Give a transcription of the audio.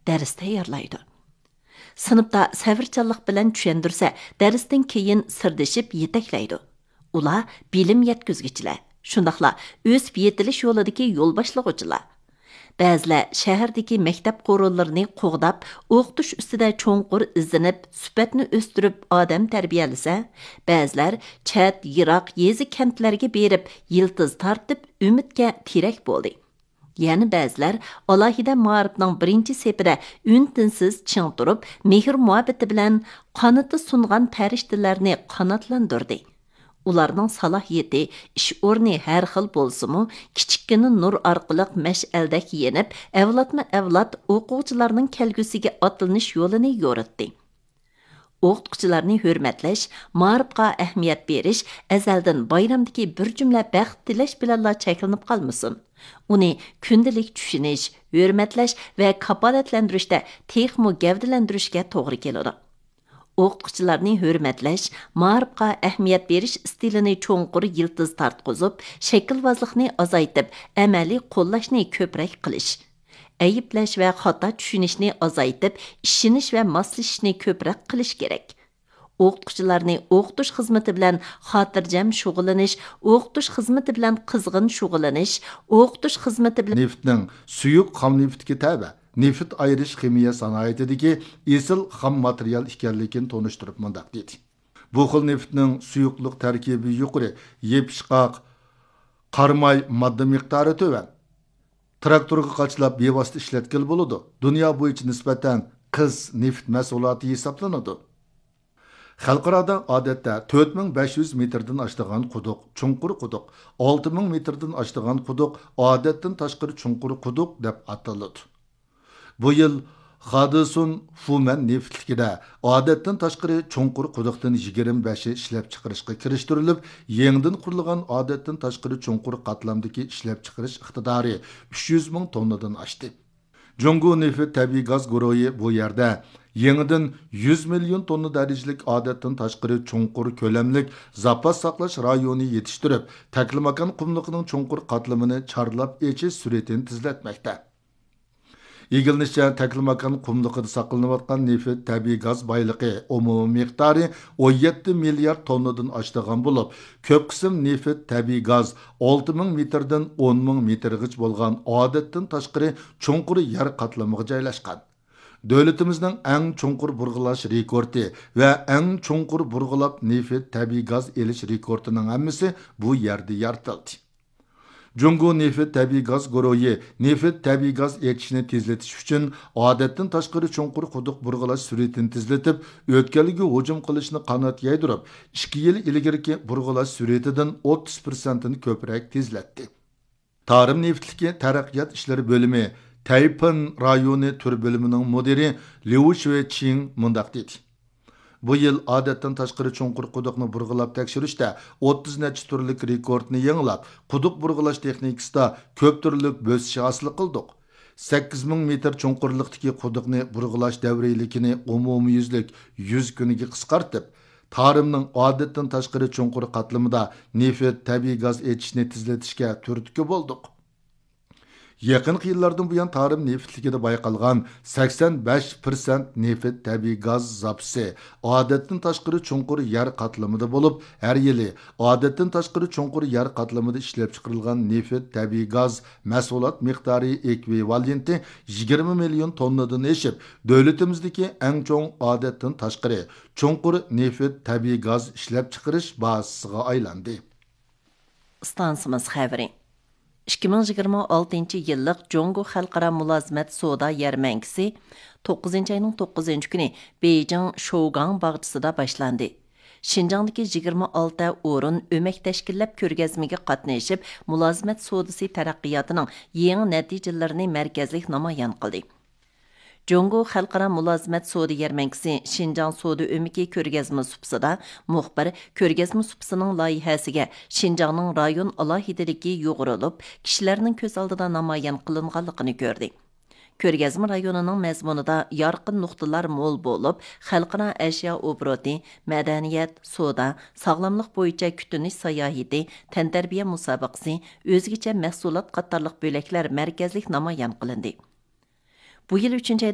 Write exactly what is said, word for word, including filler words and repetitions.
دەرس تەييارلايدۇ. سىنىپتا سەۋرچانلىق بىلەن چۈشەندۈرسە، دەرستىن كېيىن سىردىشىپ يېتەكلەيدۇ. ئۇلار بىلىم يەتكۈزگۈچىلەر، شۇنداقلا ئۆسۈپ يېتىلىش يولىدىكى يول باشلىغۇچىلار. بەزىلەر شەھەردىكى مەكتەپ قورۇلىرىنى قوغداپ، ئوقۇتۇش ئۈستىدە چوڭقۇر ئىزدىنىپ، سۈپەتنى ئۆستۈرۈپ ئادەم تەربىيەلىسە، بەزىلەر چەت، يىراق يېزا، كەنتلەرگە بېرىپ يىلتىز تارتىپ، ئۈمىدكە تىرەك بولدى. يەنە بەزىلەر ئالاھىدە مائارىپنىڭ بىرىنچى سېپىدە ئۈن-تىنسىز چىڭ تۇرۇپ، مېھىر-مۇھەببىتى بىلەن قانىتى سۇنغان پەرىشتىلەرنى قاناتلاندۇردى. ئۇلارنىڭ سالاھىيىتى، ئىش ئورنى ھەر خىل بولسىمۇ، كىچىككىنە نۇر ئارقىلىق مەشئەلدەك يېنىپ، ئەۋلادمۇ ئەۋلاد ئوقۇغۇچىلارنىڭ كەلگۈسىگە ئاتلىنىش يولىنى يورۇتتى. ئوقۇتقۇچىلارنى ھۆرمەتلەش، مائارىپقا ئەھمىيەت بېرىش ئەزەلدىن بايرامدىكى بىر جۈملە بەخت تىلەش بىلەنلا چەكلىنىپ قالمىسۇن. ئۇنى كۈندىلىك چۈشىنىش، ھۆرمەتلەش ۋە كاپالەتلەندۈرۈشتە تېخىمۇ گەۋدىلەندۈرۈشكە توغرا كېلىدۇ. ئوقۇتقۇچىلارنى ھۆرمەتلەش، مائارىپقا ئەھمىيەت بېرىش ئىستىلىنى چوڭقۇر يىلتىز تارتقۇزۇپ، شەكىلۋازلىقنى ئازايتىپ، ئەمەلىي قوللاشنى كۆپرەك قىلىش، ئەيىبلەش ۋە خاتا چۈشىنىشنى ئازايتىپ، ئىشىنىش ۋە ماسلىشىشنى كۆپرەك قىلىش كېرەك. ئوقۇتقۇچىلارنى ئوقۇتۇش خىزمىتى بىلەن خاتىرجەم شۇغۇللىنىش، ئوقۇتۇش خىزمىتى بىلەن قىزغىن شۇغۇللىنىش، ئوقۇتۇش خىزمىتى بىلەن نېفىتنىڭ سۇيۇق خام نېفىتكە تەۋە، نېفىت ئايرىش خىمىيە سانائىتىدىكى ئېسىل خام ماتېرىيال ئىكەنلىكىنى تونۇشتۇرۇپ مۇنداق دېدى: بۇ خىل نېفىتنىڭ سۇيۇقلۇق تەركىبى يۇقىرى، يېپىشقاق، قاراماي، ماددا مىقدارى تۆۋەن. تىراكتورغا قاچىلاپ بىۋاسىتە ئىشلەتكىلى بولىدۇ. دۇنيا بويىچە نىسبەتەن قىس نېفىت مەھسۇلاتى ھېسابلىنىدۇ. خەلقئارادا ئادەتتە تۆت مىڭ بەش يۈز مېتىردىن ئاشىدىغان قۇدۇق چوڭقۇر قۇدۇق، ئالتە مىڭ مېتىردىن ئاشىدىغان قۇدۇق ئادەتتىن تاشقىرى چوڭقۇر قۇدۇق دەپ ئاتىلىدۇ. بۇ يىل خادىسۇن فۇمەن نېفىتلىكىدە ئادەتتىن تاشقىرى چوڭقۇر قۇدۇقتىن يىگىرمە بەشى ئىشلەپچىقىرىشقا كىرىشتۈرۈلۈپ، يېڭىدىن قۇرۇلغان ئادەتتىن تاشقىرى چوڭقۇر قاتلامدىكى ئىشلەپچىقىرىش ئىقتىدارى ئۈچ يۈز مىڭ توننىدىن ئاشتى. جۇڭگو نېفىت تەبىئىي گاز گۇرۇھى بۇ يەردە يېڭىدىن يۈز مىليون توننا دەرىجىلىك ئادەتتىن تاشقىرى چوڭقۇر كۆلەملىك زاپاس ساقلاش رايونى يېتىشتۈرۈپ، تەكلىماكان قۇملۇقىنىڭ چوڭقۇر قاتلىمىنى چارلاپ ئېچىش سۈرئىتىنى تېزلەتمەكتە. ئىگىلىنىشىچە، تەكلىماكان قۇملۇقىدا ساقلىنىۋاتقان نېفىت تەبىئىي گاز بايلىقى ئومۇمىي مىقدارى ئون يەتتە مىليارد توننىدىن ئاشىدىغان بولۇپ، كۆپ قىسىم نېفىت تەبىئىي گاز ئالتە مىڭ مېتىردىن ئون مىڭ مېتىرغىچە بولغان ئادەتتىن تاشقىرى چوڭقۇر يەر قاتلىمىغا جايلاشقان. دۆلىتىمىزنىڭ ئەڭ چوڭقۇر بۇرغىلاش رېكورتى ۋە ئەڭ چوڭقۇر بۇرغىلاپ نېفىت تەبىئىي گاز ئېلىش رېكورتىنىڭ ھەممىسى بۇ يەردە يارىتىلدى. جۇڭگو نېفىت تەبىئىي گاز گۇرۇھى نېفىت تەبىئىي گاز ئېچىشنى تېزلىتىش ئۈچۈن ئادەتتىن تاشقىرى چوڭقۇر قۇدۇق بۇرغىلاش سۈرئىتىنى تېزلىتىپ، ئۆتكەلگە ھۇجۇم قىلىشنى قانات يايدۇرۇپ، ئىككى يىل ئىلگىرىكى بۇرغىلاش سۈرئىتىدىن ئوتتۇز پىرسەنتتىن كۆپرەك تېزلەتتى. تارىم نېفىتلىكى تەرەققىيات ئىشلىرى بۆلۈمى تەيپىن رايونى تۈر بۆلۈمىنىڭ مۇدىرى ليۇ شۈەچىڭ مۇنداق دېدى: بۇ يىل ئادەتتىن تاشقىرى چوڭقۇر قۇدۇقنى بۇرغىلاپ تەكشۈرۈشتە ئوتتۇز نەچچە تۈرلۈك رېكورتنى يېڭىلاپ، قۇدۇق بۇرغىلاش تېخنىكىسىدا كۆپ تۈرلۈك بۆسۈش ھاسىل قىلدۇق. سەككىز مىڭ مېتىر چوڭقۇرلۇقتىكى قۇدۇقنى بۇرغىلاش دەۋرىيلىكىنى ئومۇميۈزلۈك يۈز كۈنگە قىسقارتىپ، تارىمنىڭ ئادەتتىن تاشقىرى چوڭقۇر قاتلىمىدا نېفىت، تەبىئىي گاز ئېچىشنى تېزلىتىشكە تۈرتكە بولدۇق. يېقىنقى يىللاردىن بۇيان، تارىم نېفىتلىكىدە بايقالغان سەكسەن بەش پىرسەنت نېفىت، تەبىئىي گاز زاپىسى ئادەتتىن تاشقىرى چوڭقۇر يەر قاتلىمىدا بولۇپ، ھەر يىلى ئادەتتىن تاشقىرى چوڭقۇر يەر قاتلىمىدا ئىشلەپچىقىرىلغان نېفىت، تەبىئىي گاز مەھسۇلات مىقدارى ئېكۋىۋالېنتى يىگىرمە مىليون توننىدىن ئېشىپ، دۆلىتىمىزدىكى ئەڭ چوڭ ئادەتتىن تاشقىرى چوڭقۇر نېفىت، تەبىئىي گاز ئىشلەپچىقىرىش بازىسىغا ئايلاندى. ئىستانسىمىز خەۋىرى. ئىككى مىڭ يىگىرمە ئالتىنچى يىللىق جۇڭگو خەلقئارا مۇلازىمەت سودا يەرمەنكىسى توققۇزىنچى ئاينىڭ توققۇزىنچى كۈنى بېيجىڭ شوگاڭ باغچىسىدا باشلاندى. شىنجاڭدىكى يىگىرمە ئالتە ئورۇن ئۆمەك تەشكىللەپ كۆرگەزمىگە قاتنىشىپ، مۇلازىمەت سودىسى تەرەققىياتىنىڭ يېڭى نەتىجىلىرىنى مەركەزلىك نامايان قىلدى. جۇڭگو خەلقئارا مۇلازىمەت سودا يەرمەنكىسى شىنجاڭ سودا ئۆمىكى كۆرگەزمە سۇپىسىدا مۇخبىر كۆرگەزمە سۇپىسىنىڭ لايىھەسىگە شىنجاڭنىڭ رايون ئالاھىدىلىكى يۇغۇرۇلۇپ، كىشىلەرنىڭ كۆز ئالدىدا نامايان قىلىنغانلىقىنى كۆردى. كۆرگەزمە رايونىنىڭ مەزمۇنىدا يارقىن نۇقتىلار مول بولۇپ، خەلقئارا ئەشيا ئوبوروتى، مەدەنىيەت، سودا، ساغلاملىق بويىچە كۈتۈنۈش ساياھىتى، تەنتەربىيە مۇسابىقىسى، ئۆزگىچە مەھسۇلات قاتارلىق بۆلەكلەر مەركەزلىك نامايان قىلىندى. بۇ يىل ئۈچىنچى ئاي